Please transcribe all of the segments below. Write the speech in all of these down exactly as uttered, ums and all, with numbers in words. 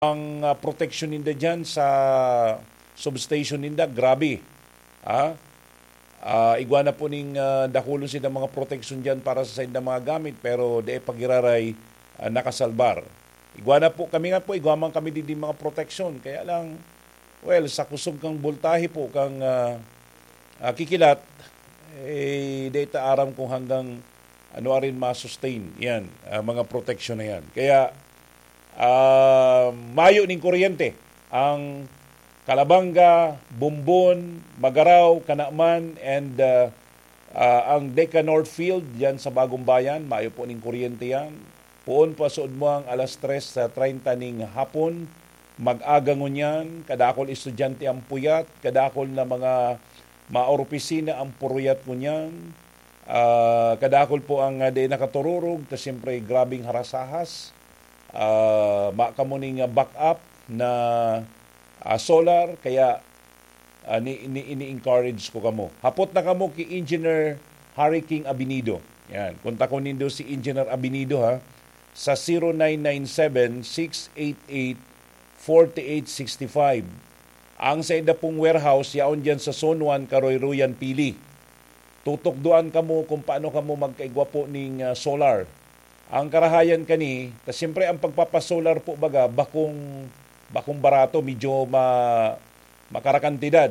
Ang, ah, proteksyon ninda diyan sa substation ninda, grabe. Ah, ah, igwa na po ning, ah, dakulon sinda mga proteksyon diyan para sa saindang mga gamit, pero dai pa giraray, ah, nakasalbar. Igwa na po, kami nga po, igwa man kami digdi mga proteksyon. Kaya lang, well, sa kusog kang boltahe po, kang, ah, ah, kikilat, eh, dai ta aram kung hanggang ano arin ma-sustain yan, ah, mga proteksyon na yan. Kaya, ah, mayo ning kuryente ang Calabanga, Bombon, Magarao, Canaman, and, ah, ah, ang Deca Northfield, yan sa Bagong Bayan, mayo po ning kuryente yan. Poon pa suod mo ang alas tres sa treinta ning hapon, mag-aga ngunyan, kadakol estudyante ang puyat, kadakol na mga maopisina ang puruyat ngunyan, ah, kadakol po ang, ah, di nakatururog, ta siyempre grabing harasahas. Ah, ma kamo ning, ah, backup na, ah, solar, kaya, ah, ni, ni, ini-encourage ko kamo. Hapot na kamo ki Engineer Harry King Abinido. Yan. Kontakon nindo si Engineer Abinido, ha, sa zero nine nine seven, six eight eight, forty-eight sixty-five. Ang sainda pong warehouse, yaon diyan sa Zone one, Karoyroyan, Pili. Tutukdoan kamo kung paano kamo magkaigwa po ning, ah, solar. Ang karahayan kani, ta siyempre ang pagpapasolar po baga, bakong, bakong barato, medyo ma-, makarakantidad.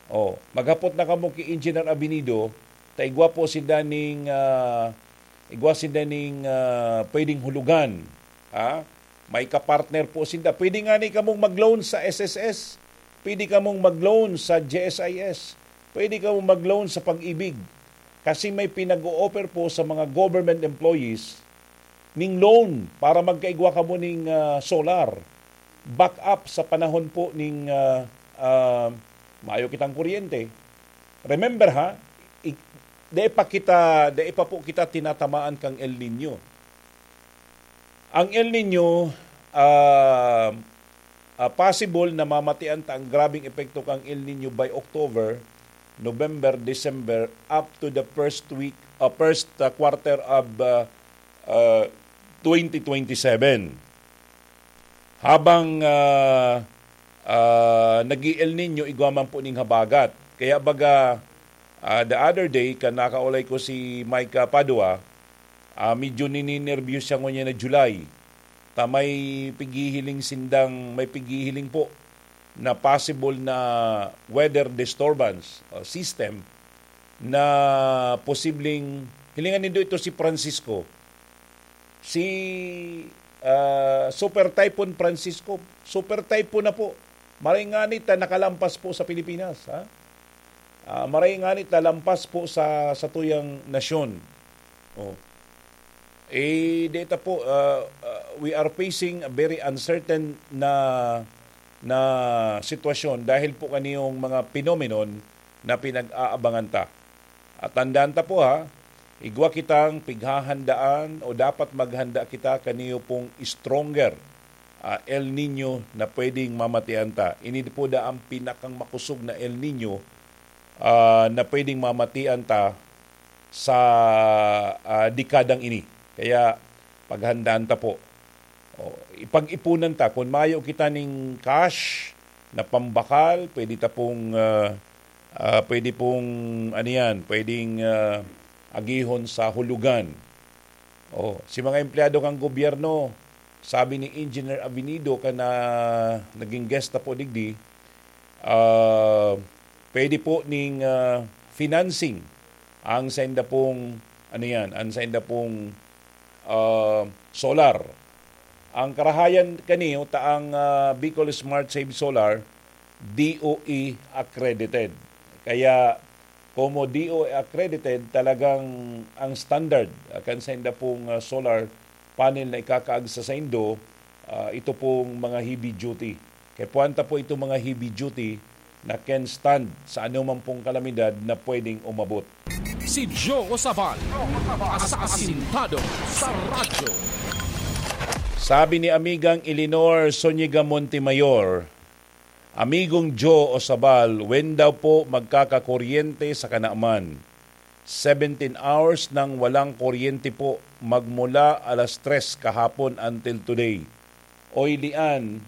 Oh, maghapot na kamo ki Engineer Abinido, ta igwa po sinda ning, ah, igwa sinda ning, ah, pwedeng hulugan. Ha? May kapartner po sinda. Pwede nga ni kamong mag-loan sa S S S. Pwede kamong mag-loan sa G S I S. Pwede kamong mag-loan sa Pag-ibig. Kasi may pinag-o-offer po sa mga government employees ning loan para magkaigwa kamo ning, ah, solar. Back up sa panahon po ning, ah, ah, mayo kitang kuryente. Remember ha, i-, dai pa kita, dai pa po kita tinatamaan kang El Nino. Ang El Nino, ah, ah, possible na mamatian ta ang grabeng epekto kang El Nino by October, November, December, up to the first week, ah, first, ah, quarter of, ah, ah, twenty twenty-seven. Habang, ah, ah, nag-i-El Nino, igwa man po ning habagat. Kaya baga, ah, the other day, kan nakaulay ko si Micah Padua, ah, medyo nininerbiyos siya ngunyan na July. Ta may pighihiling sindang, may pighihiling po na possible na weather disturbance o system na posibleng, hilingan nindo ito si Francisco. Si, ah, Super Typhoon Francisco, Super Typhoon na po. Maray ngani ta nakalampas po sa Pilipinas, ha? Ah, maray ngani ta lampas po sa, sa tuyang nasyon. Oh. Eh, data po, ah, ah, we are facing a very uncertain na, na sitwasyon dahil po kaniyong mga phenomenon na pinag-aabangan ta. At tandaan ta po ha, igwa kitang pighahandaan o dapat maghanda kita kaniyo pong stronger, ah, El Nino na pwedeng mamatian ta. Ini po da ang pinakang makusog na El Nino, ah, na pwedeng mamatian ta sa, ah, dekadang ini. Kaya paghandaan ta po. O, ipag-ipunan ta. Kun mayo kita ning cash na pambakal, pwede ta pong, ah, ah, pwede pong, ano yan, pwedeng, ah, agihon sa hulugan. O, si mga empleyado kan gobyerno, sabi ni Engineer Avenido, kan na naging guest ta po digdi, ah, pwede po ning, ah, financing ang sainda pong, ano yan, ang sainda pong, ah, solar. Ang karahayan kaniyo ta ang, ah, Bicol Smart Save Solar, D O E accredited. Kaya, komo D O E accredited, talagang ang standard, ah, kan sainda pong, ah, solar panel na ikakaag sa saindo, ah, ito pong mga heavy duty. Kaya puwanta po itong mga heavy duty na can stand sa anuman pong kalamidad na pwedeng umabot. Si Joe Sabal, asasintado sa radyo. Sabi ni Amigang Eleanor Zuniga Montemayor, "Amigong Joe Sabal, when daw po magkakakuryente sa Canaman? Seventeen hours nang walang kuryente po, magmula alas tres kahapon until today." Oy, Lian,